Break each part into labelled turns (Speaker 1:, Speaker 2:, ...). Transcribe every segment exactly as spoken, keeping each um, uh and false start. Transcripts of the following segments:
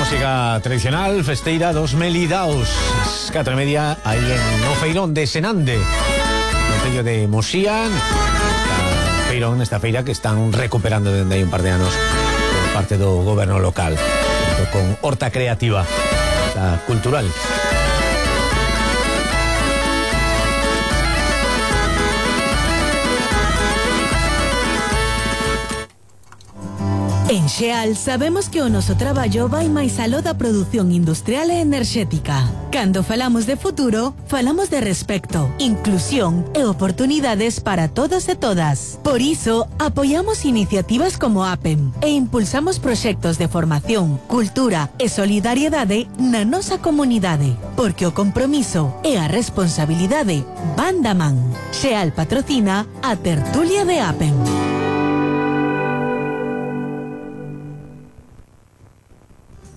Speaker 1: música tradicional festeira dos Melidaos. As catro e media aí en o feirón de Senande, no tello de Mosía. Esta feirón, esta feira que están recuperando dende hai un par de anos por parte do goberno local, con horta creativa, horta cultural.
Speaker 2: En Xeal sabemos que o noso traballo vai máis aló da produción industrial e enerxética. Cando falamos de futuro, falamos de respecto, inclusión e oportunidades para todos e todas. Por iso, apoiamos iniciativas como APEM e impulsamos proxectos de formación, cultura e solidariedade na nosa comunidade, porque o compromiso e a responsabilidade van da man. Xeal patrocina a tertulia de APEM.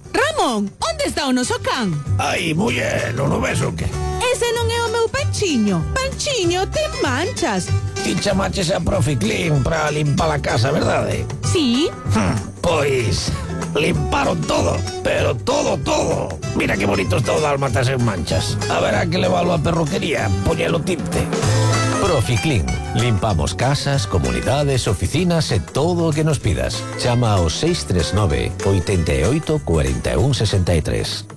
Speaker 2: Ramón, onde está o noso can?
Speaker 3: Ai, muller, non o ves o que?
Speaker 2: Ese non é o meu Panchiño. Panchiño, ten manchas.
Speaker 3: Ti chamaches a profe Clean para limpar a casa, verdade?
Speaker 2: Sí.
Speaker 3: Hm, pois, limparon todo, pero todo, todo. Mira que bonito está o dálmatas en manchas. Haberá que leválo a perruquería, poñelo tinte.
Speaker 1: Proficlin. Limpamos casas, comunidades, oficinas e todo o que nos pidas. Chama ao seis tres nove, oito oito, cuatro un, seis tres.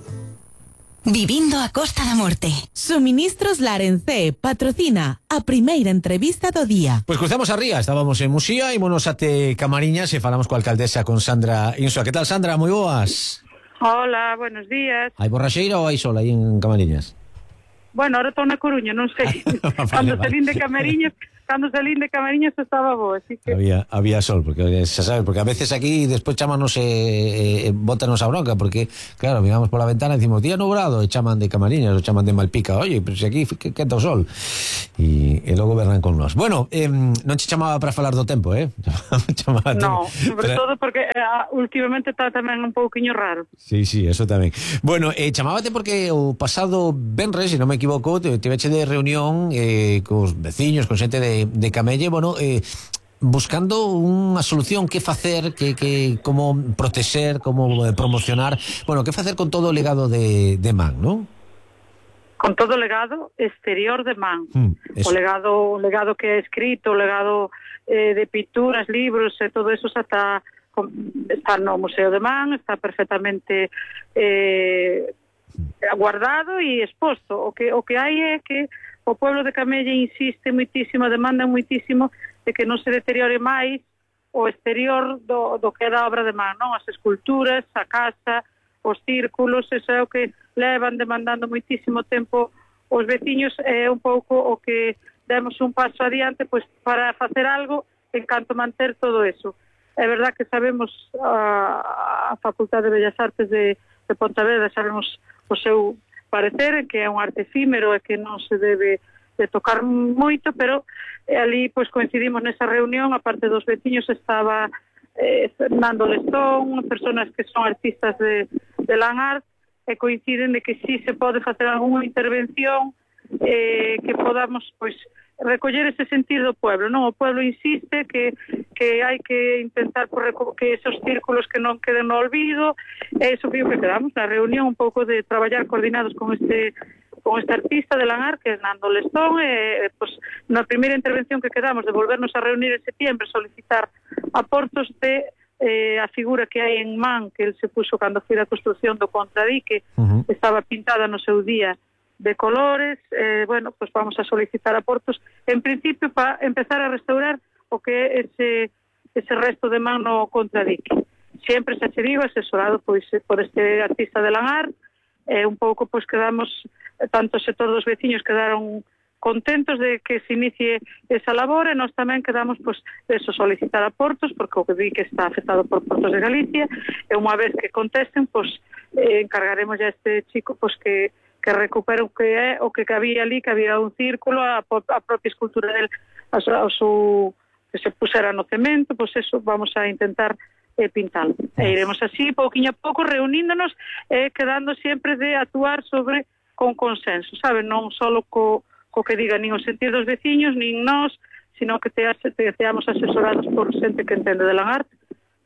Speaker 2: Vivindo a Costa da Morte. Suministros Larencé patrocina a primeira entrevista do día.
Speaker 1: Pois cruzamos a ría, estábamos en Musía e monos ate Camariñas e falamos coa alcaldesa, con Sandra Insua. Que tal, Sandra? Moi boas.
Speaker 4: Hola, buenos días.
Speaker 1: Hai borraxeira ou hai sol aí en Camariñas?
Speaker 4: Bueno, ahora estou na Coruña, non sei.
Speaker 1: vale,
Speaker 4: Cando
Speaker 1: vale.
Speaker 4: salín de Camariñas, cando salín de Camariñas estaba bo, así que...
Speaker 1: Había, había sol, porque xa sabes, porque a veces aquí despois chámanos e eh, eh, bótanos a bronca, porque claro, miramos pola ventana e decimos día nublado, e chaman de Camariñas, ou chaman de Malpica, oye, pero se aquí que quenta o sol, e, e logo verán con nós. Bueno, eh, non che chamaba para falar do tempo, eh? chamaba
Speaker 4: No, sobre
Speaker 1: para...
Speaker 4: todo porque eh, últimamente está tamén un pouquiño raro.
Speaker 1: Sí, sí, eso tamén. Bueno, eh, chamábate porque o pasado venres, se non me equivoco, te tiveche de reunión eh, cos veciños, con xente de, de Camelle, bueno, eh, buscando unha solución, que facer, que, que como protexer, como eh, promocionar, bueno, que facer con todo o legado de, de Man, non?
Speaker 4: Con todo o legado exterior de Man.
Speaker 1: Mm,
Speaker 4: o legado o legado que é escrito, o legado eh, de pinturas, libros e todo eso xa está, está no Museo de Man, está perfectamente eh, guardado e exposto. O que, o que hai é que o pueblo de Camelle insiste moitísimo, demanda moitísimo de que non se deteriore máis o exterior do, do que é da obra de Man, non? As esculturas, a casa, os círculos, eso é o que levan demandando moitísimo tempo os veciños, é un pouco o que demos un paso adiante pois para facer algo en canto manter todo eso. É verdad que sabemos a, a Facultade de Bellas Artes de, de Pontevedra, sabemos o seu parecer, en que é un arte efímero e que non se debe de tocar moito, pero eh, ali pois coincidimos nesa reunión, a parte dos veciños estaba eh, Fernando Lestón, personas que son artistas de, de Land Art, e coinciden de que si se pode facer algunha intervención eh, que podamos pois recoller ese sentir do pueblo, non? O pueblo insiste que, que hai que intentar por que esos círculos que non queden no olvido, e iso que quedamos na reunión, un pouco de traballar coordinados con este con este artista de Land Art, que é Nando Lestón, e pues, na primeira intervención que quedamos de volvernos a reunir en septiembre, solicitar aportos de eh, a figura que hai en Man, que el se puso cando foi a construcción do contradique, uh-huh. Estaba pintada no seu día de colores, eh, bueno, pues vamos a solicitar aportos, en principio para empezar a restaurar o que é ese, ese resto de Man no contradique. Sempre se che digo, asesorado pois, por este artista de Land Art, eh, un pouco pois quedamos, tanto o sector dos veciños quedaron contentos de que se inicie esa labor, e nós tamén quedamos pois, eso, solicitar aportos, porque o que vi que está afectado por Portos de Galicia, e unha vez que contesten, pois, eh, encargaremos a este chico pois, que que recupere o que é o que había ali, que había un círculo, a, a propia escultura del a, a su, que se pusera no cemento, pois eso vamos a intentar eh, pintalo. E iremos así, pouquiño a pouco, reuníndonos e eh, quedando sempre de actuar sobre con consenso, sabe? Non só co, co que diga nin o sentir dos veciños, nin nós, sino que te, te teamos asesorados por xente que entende de Land Art,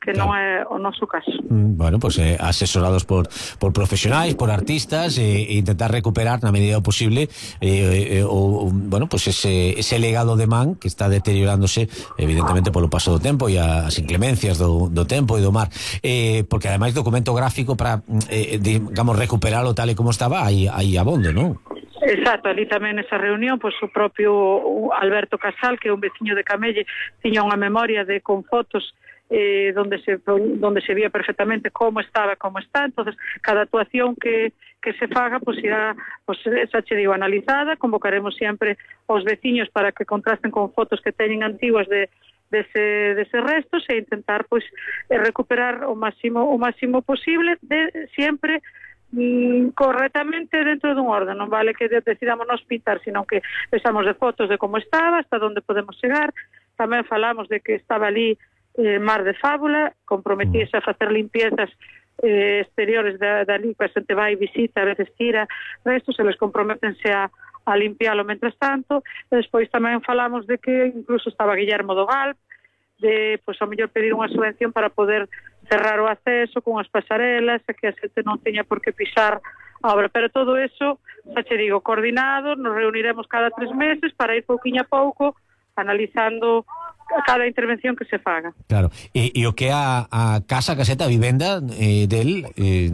Speaker 4: que
Speaker 1: claro.
Speaker 4: non é o noso caso.
Speaker 1: Mm, bueno, pues eh, asesorados por, por profesionais, por artistas, e eh, intentar recuperar na medida do posible eh, eh, o, bueno, pues ese, ese legado de man que está deteriorándose evidentemente polo paso do tempo e as inclemencias do, do tempo e do mar, eh, porque ademais documento gráfico para eh, digamos recuperalo tal e como estaba aí, aí abondo, non?
Speaker 4: Exacto, ali tamén nesa reunión, pois o propio Alberto Casal, que é un veciño de Camelle, tiña unha memoria de con fotos eh, donde se donde se vía perfectamente como estaba, como está. Entonces, cada actuación que, que se faga, pois irá, pois esa che digo, analizada. Convocaremos sempre os veciños para que contrasten con fotos que teñen antiguas de dese, dese restos e intentar pois recuperar o máximo o máximo posible, de sempre Mm, correctamente dentro dun orden. Non vale que decidamos nos pintar, sino que pensamos de fotos de como estaba, hasta onde podemos chegar. Tamén falamos de que estaba ali eh, Mar de Fábula, comprometíase a facer limpiezas eh, exteriores da, da ali, que a xente vai e visita, a veces tira restos, eles comprometense a, a limpiálo mentras tanto. E despois tamén falamos de que incluso estaba Guillermo do Gal, de, pois, a mellor pedir unha subvención para poder cerrar o acceso con as pasarelas e que a xente non teña por que pisar a obra. Pero todo eso, xa che digo, coordinado, nos reuniremos cada tres meses para ir pouquiño a pouco analizando cada intervención que se faga.
Speaker 1: Claro, e, e o que é a, a casa, a caseta, a vivenda eh, del, eh,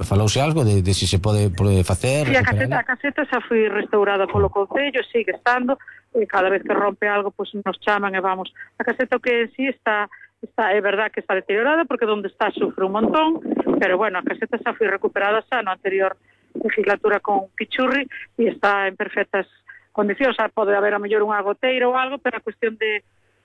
Speaker 1: falouse algo de, de si se pode, pode facer?
Speaker 4: Sí, a caseta, a caseta xa foi restaurada polo Concello, sigue estando, e cada vez que rompe algo, pues nos chaman e vamos. A caseta que en sí está, está, é verdad que está deteriorada, porque donde está sufre un montón, pero bueno, a caseta xa foi recuperada xa no anterior legislatura con Pichurri e está en perfectas condicións. Xa pode haber a mellor unha goteira ou algo, pero a cuestión de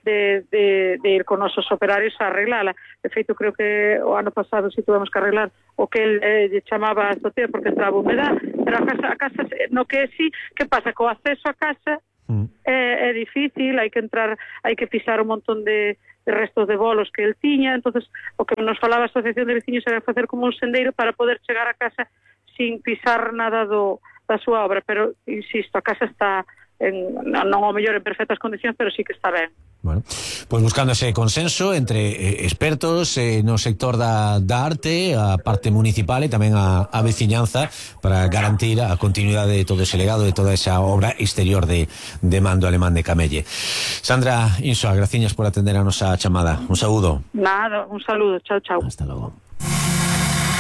Speaker 4: De, de, de ir con nosos operarios a arreglala. De feito, creo que o ano pasado si tuvemos que arreglar o que el eh, chamaba a azotea porque estaba humedad, pero a casa, a casa no que sí, que pasa? Co acceso a casa mm. é, é difícil, hai que entrar, hai que pisar un montón de, de restos de bolos que el tiña. Entonces o que nos falaba a Asociación de Veciños era facer como un sendeiro para poder chegar a casa sin pisar nada do, da súa obra, pero insisto, a casa está en, non ao mellor en perfectas condicións, pero sí que está ben.
Speaker 1: Bueno, pues buscando ese consenso entre eh, expertos eh, no sector da, da arte, a parte municipal e tamén a, a veciñanza, para garantir a continuidade de todo ese legado, de toda esa obra exterior de, de Mando Alemán de Camelle. Sandra Insoa, graciñas por atender a nosa chamada. Un saúdo.
Speaker 4: Nada, un saludo. Chao, chao.
Speaker 1: Hasta logo.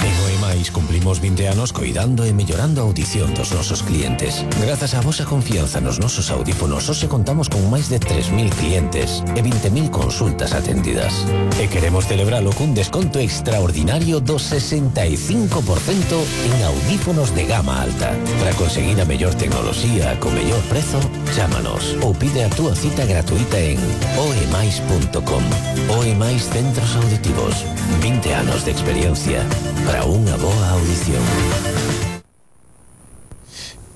Speaker 5: En O E Mais cumplimos vinte anos coidando e mellorando a audición dos nosos clientes. Grazas á vosa confianza nos nosos audífonos, hoxe contamos con máis de tres mil clientes e vinte mil consultas atendidas. E queremos celebralo cun desconto extraordinario do sesenta e cinco por cento en audífonos de gama alta. Para conseguir a mellor tecnoloxía co mellor prezo, chámanos ou pide a túa cita gratuita en oemais punto com. O E Mais Centros Auditivos. vinte anos de experiencia para unha boa audición.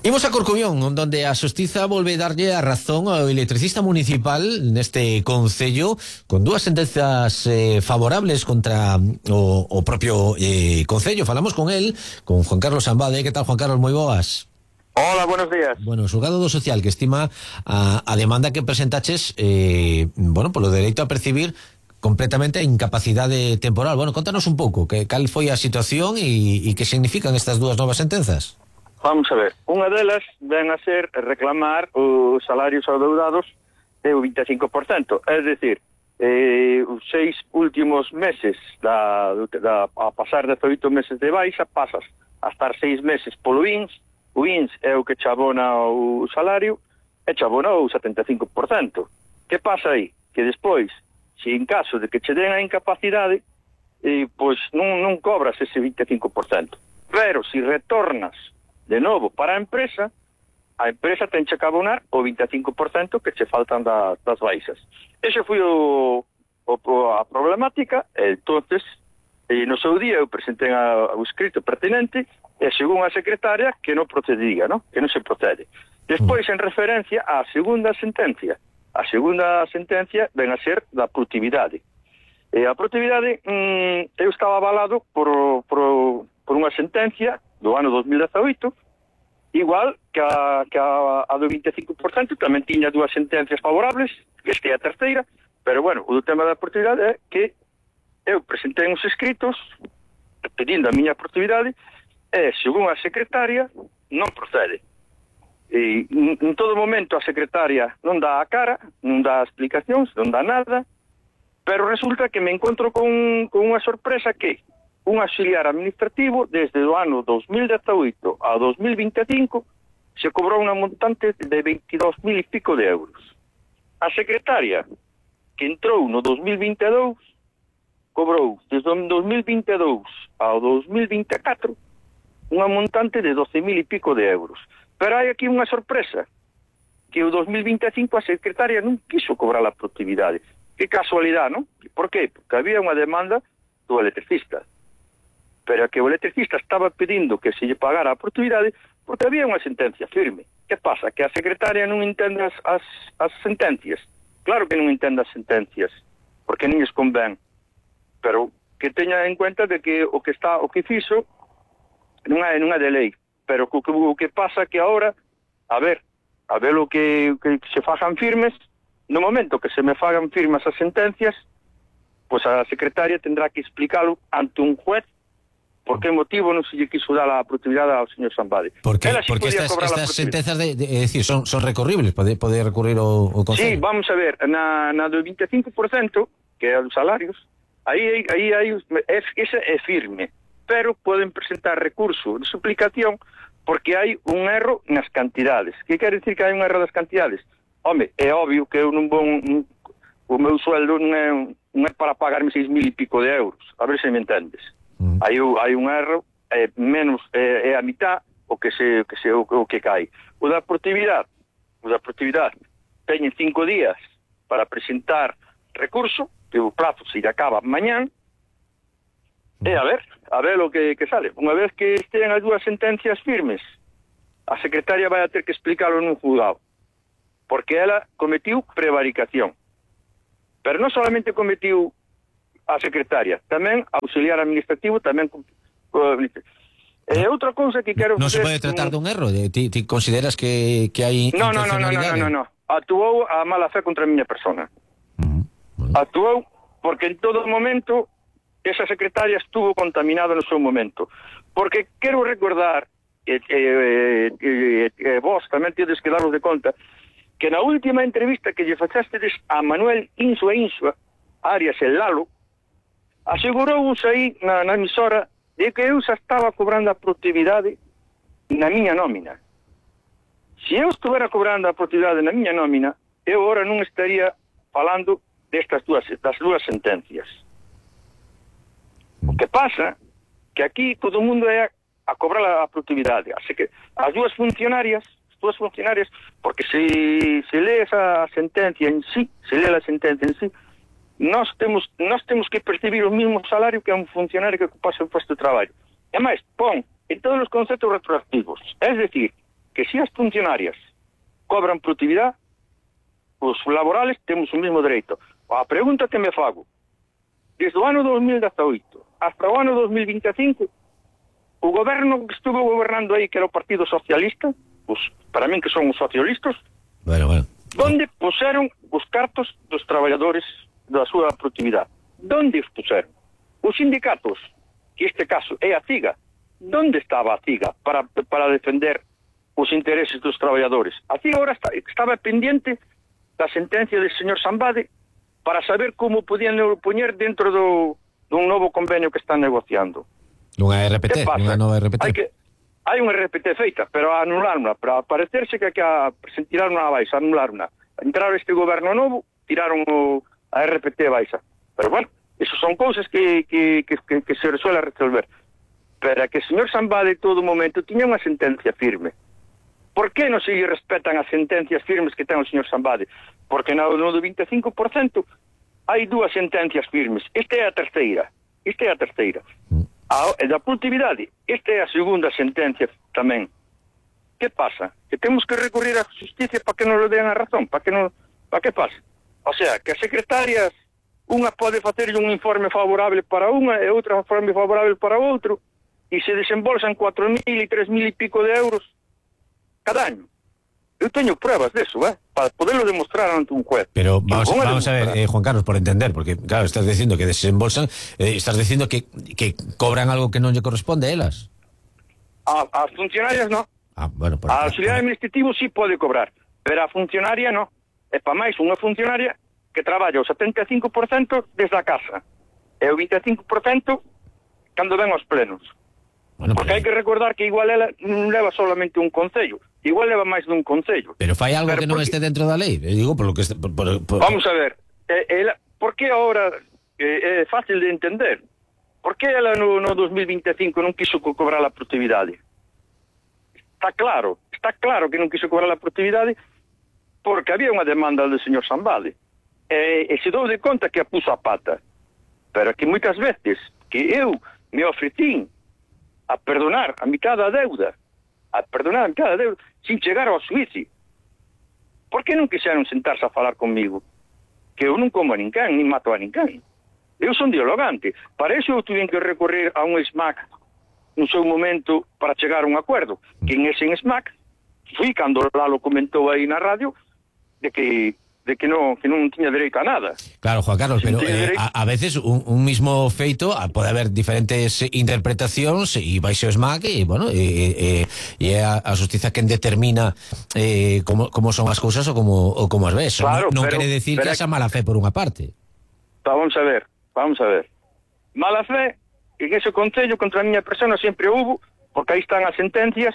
Speaker 1: Imos a Corcubión, onde a Xustiza volve darlle a razón ao electricista municipal neste concello, con dúas sentenzas eh, favorables contra o, o propio eh, concello. Falamos con él, con Juan Carlos Ambade. Que tal, Juan Carlos? Moi boas.
Speaker 6: Hola, buenos días.
Speaker 1: Bueno, o xulgado do social que estima a, a demanda que presentaches eh, bueno, polo dereito a percibir completamente a incapacidade temporal. Bueno, contanos un pouco que cal foi a situación e, e que significan estas dúas novas sentenzas.
Speaker 6: Vamos a ver, unha delas ven a ser reclamar os salarios adeudados de o vinte e cinco por cento, é dicir, eh, os seis últimos meses da, da, a pasar dezoito meses de baixa, pasas a estar seis meses polo I N S. O I N S é o que chabona o salario e chabona o setenta e cinco por cento. Que pasa aí? Que despois, se en caso de que che den a incapacidade, eh, pois non, non cobras ese vinte e cinco por cento. Pero se retornas de novo para a empresa, a empresa ten que abonar o vinte e cinco por cento que che faltan da, das baixas. Ese foi o, o, a problemática, e entonces, e no seu día eu presentei a, o escrito pertinente, e según a secretaria, que non procedía, ¿no? Que non se procede. Despois, en referencia á segunda sentencia, a segunda sentencia ven a ser da produtividade. E a produtividade, mmm, eu estaba avalado por, por, por unha sentencia do ano dos mil dezaoito, igual que a, que a, a do vinte e cinco por cento, tamén tiña dúas sentencias favorables, que esta é a terceira, pero bueno, o do tema da produtividade é que eu presentei uns escritos pedindo a miña productividade e, según a secretaria, non procede. E en todo momento a secretaria non dá a cara, non dá explicacións, non dá nada, pero resulta que me encontro con, con unha sorpresa que un auxiliar administrativo desde o ano dos mil dezaoito a dos mil vinte e cinco se cobrou unha montante de veintidós mil e pico de euros. A secretaria que entrou no dos mil vinte e dous cobrou desde o dos mil vinte e dous ao dos mil vinte e catro unha montante de doce mil e pico de euros. Pero hai aquí unha sorpresa, que o dos mil vinte e cinco a secretaria non quiso cobrar a productividade. Que casualidade, non? Por qué? Porque había unha demanda do electricista. Pero que o electricista estaba pedindo que se lle pagara a productividade porque había unha sentencia firme. Que pasa? Que a secretaria non entende as, as, as sentencias. Claro que non entende as sentencias, porque non lles convén. Pero que teña en cuenta de que o que está o que fixo non é, non é de lei, pero o que, o que pasa que agora, a ver, a ver o que, que se fagan firmes, no momento que se me fagan firmes as sentencias, pois a secretaria tendrá que explicarlo ante un juez por que motivo non se lle quiso dar a productividade ao señor Sambade.
Speaker 1: Porque,
Speaker 6: sí
Speaker 1: porque estas, estas sentencias de, de, é dicir, son, son recorribles, pode, pode recurrir o, o
Speaker 6: Sí,
Speaker 1: Concello.
Speaker 6: vamos a ver, na, na do vinte e cinco por cento, que é os salarios, aí, aí, aí é, ese é firme, pero poden presentar recurso de suplicación porque hai un erro nas cantidades. Que quere dicir que hai un erro das cantidades? Home, é obvio que eu non vou un, o meu sueldo non é, non é para pagarme seis mil e pico de euros, a ver se me entendes. Mm. Hai, hai un erro, é menos, é, é a mitad o que se, que se o, o que cae. O da productividade, o da productividade teñen cinco días para presentar recurso, que o prazo se acaba mañán. E a ver, a ver o que, que sale. Unha vez que estén as dúas sentencias firmes, a secretaria vai a ter que explicarlo nun juzgado, porque ela cometiu prevaricación. Pero non solamente cometiu a secretaria, tamén a auxiliar administrativo, tamén... E outra cousa que quero...
Speaker 1: Non se pode tratar dun erro? Ti, ti consideras que, que hai
Speaker 6: no, no, no, no, no, no, no. Actuou a mala fe contra a miña persona. Uh-huh. Bueno. Actuou porque en todo momento... esa secretaria estuvo contaminada no seu momento. Porque quero recordar, e, e, e, e vos tamén tedes que daros de conta, que na última entrevista que lle facestedes a Manuel Insua Insua, Arias el Lalo, asegurouse aí na, na emisora de que eu xa estaba cobrando a productividade na miña nómina. Se eu estuvera cobrando a productividade na miña nómina, eu agora non estaría falando destas dúas, das dúas sentencias. O que pasa que aquí todo o mundo é a, a cobrar a productividade. Así que as dúas funcionarias, as dúas funcionarias, porque se, se lee esa sentencia en sí, se lee a sentencia en sí, nós temos, nós temos que percibir o mesmo salario que un funcionario que ocupase o posto de traballo. E máis, pon en todos os conceptos retroactivos. Es decir, que se as funcionarias cobran productividade, os laborales temos o mesmo dereito. A pregunta que me fago, desde o ano dos mil dezaoito hasta o ano dos mil vinte e cinco, o goberno que estuvo gobernando aí, que era o Partido Socialista, pues, para min que son os socialistas,
Speaker 1: bueno, bueno.
Speaker 6: donde puseron os cartos dos traballadores da súa productividade? Donde os puseron? Os sindicatos, que este caso é a CIGA, donde estaba a CIGA para, para defender os intereses dos traballadores? A CIGA agora está, estaba pendiente da sentencia do señor Sambade para saber como podían poñer dentro do dun novo convenio que están negociando.
Speaker 1: Unha R P T, unha nova R P T.
Speaker 6: Hai, que, hai unha R P T feita, pero a anularna, para parecerse que, que a, tiraron a baixa, anularna. Entraron este goberno novo, tiraron o, a R P T baixa. Pero bueno, eso son cousas que, que, que, que, que se resuele resolver. Pero que o señor Sambade todo momento tiña unha sentencia firme. Por que non se respetan as sentencias firmes que ten o señor Sambade? Porque no, no do vinte e cinco por cento hai dúas sentencias firmes. Esta é a terceira. Esta é a terceira. A, a da productividade, esta é a segunda sentencia tamén. Que pasa? Que temos que recurrir á justicia para que nos lo den a razón, para que non, para que pasa? O sea, que as secretarias, unha pode facer un informe favorable para unha e outra informe favorable para outro, e se desembolsan cuatro mil e tres mil e pico de euros cada año. Eu teño pruebas deso, eh, para poderlo demostrar ante un juez.
Speaker 1: Pero vamos,
Speaker 6: a
Speaker 1: vamos a ver, eh, Juan Carlos, por entender, porque claro, estás diciendo que desembolsan, eh, estás diciendo que, que cobran algo que non lle corresponde a elas.
Speaker 6: A, as funcionarias no.
Speaker 1: Ah, bueno, por,
Speaker 6: A auxiliar administrativo sí pode cobrar, pero a funcionaria no. É pa máis unha funcionaria que traballa o setenta e cinco por cento desde a casa e o vinte e cinco por cento cando ven aos plenos.
Speaker 1: Bueno,
Speaker 6: porque
Speaker 1: pero,
Speaker 6: hai que recordar que igual ela non leva solamente un concello, igual leva máis dun concello.
Speaker 1: pero fai algo
Speaker 6: Pero
Speaker 1: que non
Speaker 6: porque-
Speaker 1: este dentro da lei. Eh, digo, por lo que este, por, por, por...
Speaker 6: Vamos a ver, eh, ela, por que ahora eh, é fácil de entender? Por que ela no, no dos mil vinte e cinco non quiso co- cobrar a produtividade? Está claro, está claro que non quiso cobrar a produtividade porque había unha demanda do señor Sambade. E, e se dou de conta que a puso a pata. Pero que moitas veces que eu me ofrecín a perdonar a mitad da deuda, a perdonar a mitad da deuda, sin chegar ao suicio. Por que non quixeron sentarse a falar comigo? Que eu non como a ninguén, nin mato a ninguén. Eu son dialogante. Para iso eu tuve que recorrer a un SMAC no seu momento para chegar a un acordo. Que en ese SMAC fui cando Lalo comentou aí na radio de que de que non que non tiña dereito a nada.
Speaker 1: Claro, Juan Carlos,
Speaker 6: Sin
Speaker 1: pero
Speaker 6: tener
Speaker 1: eh,
Speaker 6: dereito.
Speaker 1: a, a veces un, un mismo feito a, pode haber diferentes interpretacións e vai ser o SMAC e, bueno, e, e, e é a, a justiza quen determina eh, como, como son as cousas ou como, ou como as ves.
Speaker 6: Claro,
Speaker 1: non non
Speaker 6: pero-
Speaker 1: quere decir
Speaker 6: pero
Speaker 1: que
Speaker 6: é
Speaker 1: haxa mala fe por unha parte.
Speaker 6: Pa, vamos a ver, vamos a ver. Mala fe, en ese concello contra a miña persona sempre houbo, porque aí están as sentencias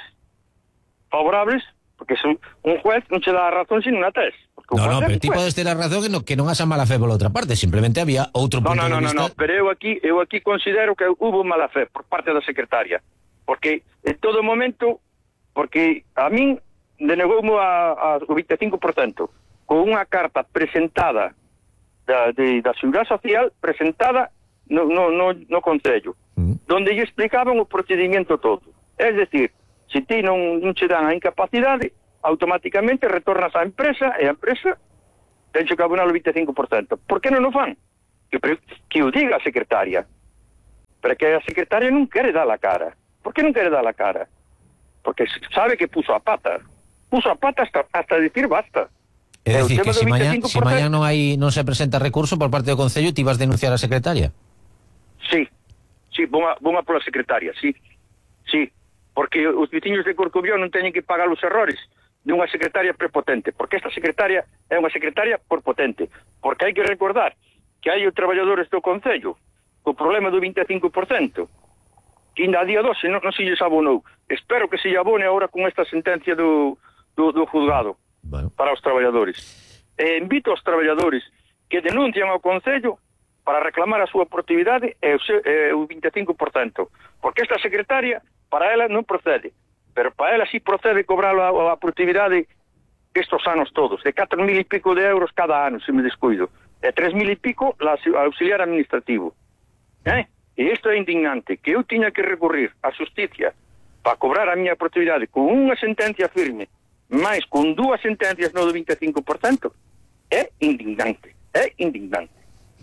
Speaker 6: favorables, porque son, un juez non se dá a razón sin unha tes. Porque o
Speaker 1: No, no,
Speaker 6: juez é
Speaker 1: pero
Speaker 6: un
Speaker 1: ti
Speaker 6: juez.
Speaker 1: podes ter a razón que non, que non haxa mala fe pola outra parte, simplemente había outro
Speaker 6: No,
Speaker 1: punto
Speaker 6: no, no,
Speaker 1: de
Speaker 6: no,
Speaker 1: vista.
Speaker 6: no, pero eu aquí, eu aquí considero que hubo mala fe por parte da secretaria, porque en todo momento, porque a min denegoume a, a, o vinte e cinco por cento con unha carta presentada da, de, da Seguridade Social, presentada no, no, no, no Concello,
Speaker 1: Mm.
Speaker 6: donde lle explicaban o procedimento todo. Es decir, se ti non, non che dan a incapacidade, automáticamente retornas á empresa e a empresa tenxe que abonar o vinte e cinco por cento. Por que non o fan? Que, que o diga a secretaria. Pero que a secretaria non quere dar a cara. Por que non quere dar a cara? Porque sabe que puso a pata. Puso a pata hasta, hasta decir basta.
Speaker 1: É
Speaker 6: E o
Speaker 1: dicir,
Speaker 6: tema
Speaker 1: que
Speaker 6: do
Speaker 1: se mañá,
Speaker 6: vinte e cinco
Speaker 1: si
Speaker 6: por cento
Speaker 1: mañá non hai non se presenta recurso por parte do Concello, ti vas denunciar a secretaria.
Speaker 6: Sí, sí, vou a, vou a pola secretaria, sí, sí, porque os veciños de Corcobión non teñen que pagar os errores dunha secretaria prepotente, porque esta secretaria é unha secretaria porpotente, porque hai que recordar que hai os traballadores do Concello co problema do vinte e cinco por cento, que ainda a día doce non, non se lles abonou. Espero que se lle abone agora con esta sentencia do, do, do juzgado
Speaker 1: Bueno.
Speaker 6: para os traballadores. E invito aos traballadores que denuncian ao Concello para reclamar a súa productividade e o, seu, e o vinte e cinco por cento. Porque esta secretaria, para ela non procede, pero para ela sí procede cobrar a, a productividade estes anos todos, de catro mil e pico de euros cada ano, se me descuido, e tres mil e pico la auxiliar administrativo. Eh? E isto é indignante, que eu tiña que recurrir á justicia para cobrar a miña productividade con unha sentencia firme, máis con dúas sentencias no do vinte e cinco por cento, é indignante, é indignante.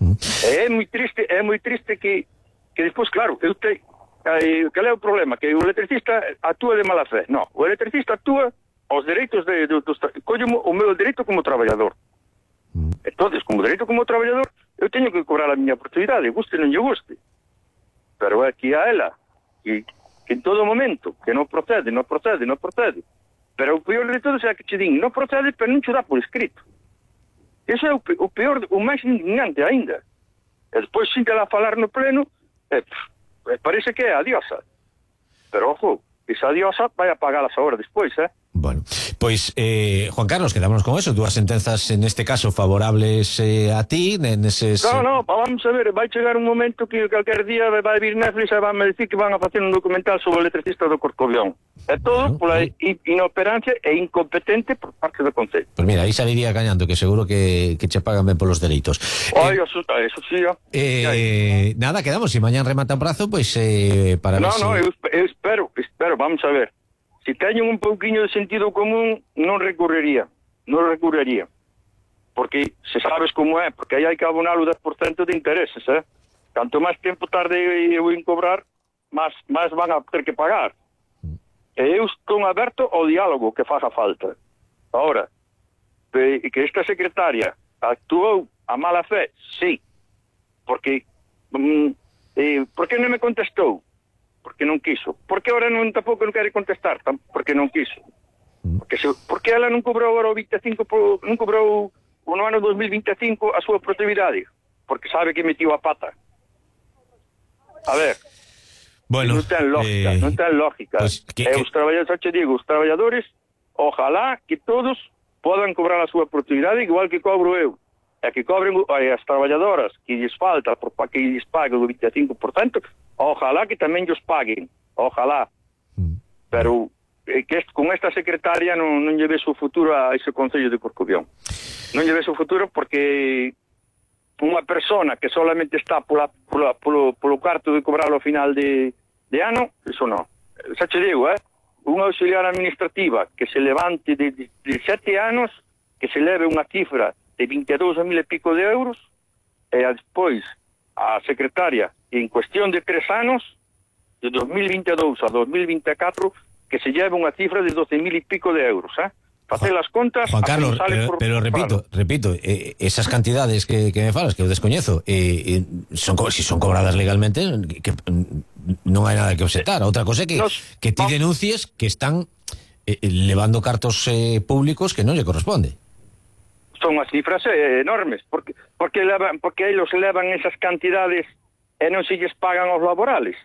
Speaker 1: Mm.
Speaker 6: É moi triste, é moi triste que, que despois, claro, eu te, eh, cal é o problema? Que o electricista actúa de mala fe. No, o electricista actúa aos dereitos de, de, dos, collo o meu dereito como traballador.
Speaker 1: Mm.
Speaker 6: Entonces, como dereito como traballador, eu teño que cobrar a miña productividade, guste ou non lle guste. Pero é aquí a ela, que, que en todo momento, que non procede, non procede, non procede. Pero o peor de todo é que che din, non procede, pero non che dá por escrito. Eso é o, pe o peor, o máis indignante aínda. E despois, sin que la falar no pleno, eh, pff, parece que é a diosa. Pero, ojo, esa diosa vai a pagalas agora despois, eh?
Speaker 1: Bueno, pois, eh, Juan Carlos, quedámonos con eso. Dúas sentenzas, en este caso, favorables eh, a ti, neses...
Speaker 6: No, no, vamos a ver, vai chegar un momento que calquer día vai vir Netflix e van a decir que van a facer un documental sobre o electricista do Corcobión. É todo
Speaker 1: Bueno,
Speaker 6: pola
Speaker 1: bueno.
Speaker 6: inoperancia e incompetente por parte do Concello.
Speaker 1: Pois mira, aí saliría gañando, que seguro que, que che pagan ben polos dereitos.
Speaker 6: Ai,
Speaker 1: Eh,
Speaker 6: eso, eso sí, ó.
Speaker 1: eh, nada, quedamos, se si mañán remata o prazo, pois eh, para
Speaker 6: No,
Speaker 1: ver
Speaker 6: no,
Speaker 1: se...
Speaker 6: eu, eu espero, espero, vamos a ver. Se teñen un pouquiño de sentido común, non recurriría, non recurriría. Porque se sabes como é, porque aí hai que abonar o dez por cento de intereses, eh? Canto máis tempo tarde eu en cobrar, máis, máis van a ter que pagar. E eu estou aberto ao diálogo que faga falta. Ahora, que esta secretaria actuou a mala fe, sí, porque mm, eh, por que non me contestou? Porque non quiso. Por que ahora non tampouco non quere contestar? Porque non quiso. Porque, se, porque ela non cobrou agora o vinte e cinco por, non cobrou no ano dos mil vinte e cinco a súa produtividade, porque sabe que metió a pata. A ver,
Speaker 1: bueno,
Speaker 6: non ten lógica, eh, non ten lógica. Pues, que, e os traballadores, xa te digo, os traballadores, ojalá que todos podan cobrar a súa produtividade igual que cobro eu. E que cobren as traballadoras que lles falta por para que lles paguen o vinte e cinco por cento, ojalá que tamén lles paguen, ojalá. Mm. Pero eh, que est, con esta secretaria non, non lle ves o futuro a ese Concello de Corcubión. Non lle ves o futuro porque unha persona que solamente está pola, pola, polo, polo carto de cobrar ao final de, de ano, eso non. Xa che digo, eh? Unha auxiliar administrativa que se levante de, de, de sete anos, que se leve unha cifra de vinte e dous mil e pico de euros, e despois a secretaria en cuestión de tres anos, de dos mil vinte e dous a dos mil vinte e catro, que se lleve unha cifra de doce mil e pico de euros, eh? Facer as contas...
Speaker 1: Juan Carlos, pero, por, pero repito, claro. repito, eh, esas cantidades que, que me falas, que eu descoñezo, eh, eh, son, si son cobradas legalmente, que, que non hai nada que obxectar. Outra cosa é que, Nos, que ti denuncies que están eh, levando cartos eh, públicos que non lle corresponde.
Speaker 6: Son as cifras eh, enormes, porque porque levan, porque eles levan esas cantidades e non se lles pagan aos laborales,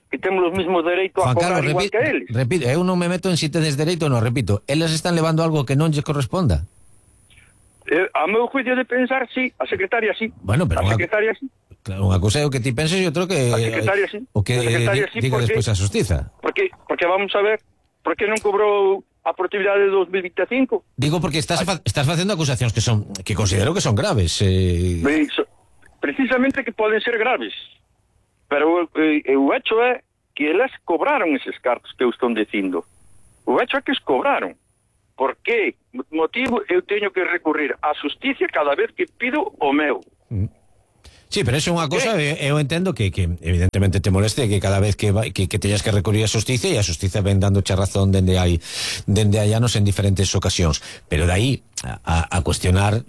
Speaker 6: que temos os mismos dereitos a cobrar Carlos, igual repito, que eles.
Speaker 1: Repito, eu non me meto en si tedes dereito ou non, repito, eles están levando algo que non lles corresponda.
Speaker 6: Eh, a meu juicio de pensar, sí, a secretaria sí.
Speaker 1: Bueno, pero
Speaker 6: a
Speaker 1: unha,
Speaker 6: secretaria sí.
Speaker 1: Claro, unha cousa é o que ti penses e outro que
Speaker 6: a secretaria sí.
Speaker 1: O que
Speaker 6: a secretaria
Speaker 1: di,
Speaker 6: sí,
Speaker 1: diga
Speaker 6: porque,
Speaker 1: despois a Xustiza.
Speaker 6: Porque porque vamos a ver, por que non cobrou a produtividade de dos mil vinte e cinco?
Speaker 1: Digo porque estás fa, estás facendo acusacións que son que considero que son graves. Eh...
Speaker 6: Precisamente que poden ser graves. Pero eh, o hecho é que elas cobraron eses cartos que eu estou dicindo. O hecho é que os cobraron. Por que motivo eu teño que recurrir á xusticia cada vez que pido o meu?
Speaker 1: Mm. Sí, pero eso é unha cosa, eu entendo que, que evidentemente te moleste que cada vez que, vai, que, que teñas que recurrir a xusticia e a xusticia ven dándoche razón dende hai dende hai anos en diferentes ocasións, pero de aí a, a cuestionar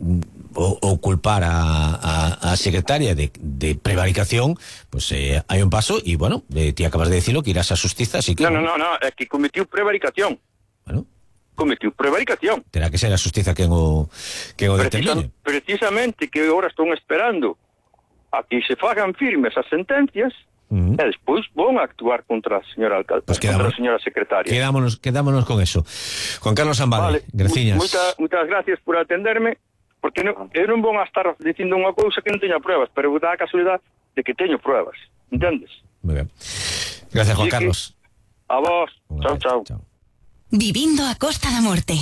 Speaker 1: ou, ou culpar a, a, a secretaria de, de prevaricación, pues eh, hai un paso e, bueno, eh, ti acabas de decirlo que irás a xustiza, así que...
Speaker 6: No, no, no, no, é que cometiu prevaricación.
Speaker 1: Bueno...
Speaker 6: Cometiu prevaricación.
Speaker 1: Terá que ser a xustiza quen o, quen o determine.
Speaker 6: Precisamente que agora estón esperando a que se fagan firmes as sentencias uh-huh. e despois vão actuar contra a señora alcalde, pues contra a señora secretaria.
Speaker 1: Quedámonos, quedámonos con eso. Juan Carlos Ambade, vale. Graciñas.
Speaker 6: Muita, muchas gracias por atenderme, porque non, eu non vou a estar dicindo unha cousa que non teña pruebas, pero dá a casualidade de que teño pruebas, entendes?
Speaker 1: Muy ben. Gracias, Juan Carlos.
Speaker 6: A vos. Chao, chao.
Speaker 2: Vivindo a Costa da Morte.